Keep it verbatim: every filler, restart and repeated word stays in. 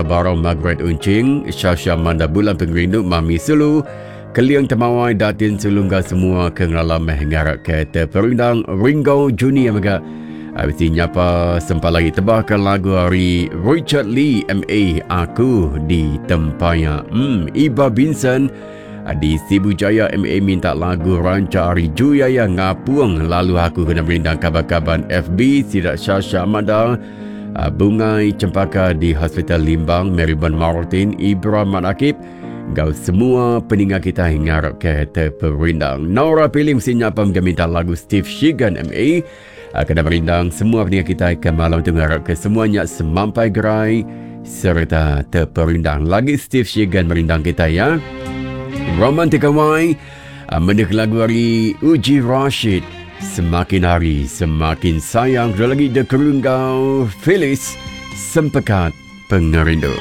Barau Margaret Unching, Shasha Manda Bulan Pengerindu, Mami Sulu, Keling Temawai, Datin Sulu enggau semua ke ngelala meh ngarap ke teperindang. Ringo Junior mega bisi nyapa sempat lagi tebahkan lagu ari Richard Lee M A Aku di Tempaya. Hmm, Iba Vincent di Sibu Jaya M A minta lagu ranca ari Juyaya Ngapung, lalu aku kena merindang kaban-kaban F B Sidak Shasha Amanda, Bungai Cempaka di Hospital Limbang, Maryban Martin, Ibra Manakib, gau semua peninga kita ngarap ke terperindang. Nora Pilim sinyap minta lagu Steve Shigan M A kena merindang semua peninga kita ke malam tu, ngarap ke semuanya semampai gerai serta terperindang. Lagi Steve Shigan merindang kita ya. Romantika Y mendengar lagu hari Uji Rashid, Semakin Hari Semakin Sayang. Kedua lagi The Kerunggau Phyllis, Sempekat Pengerindu.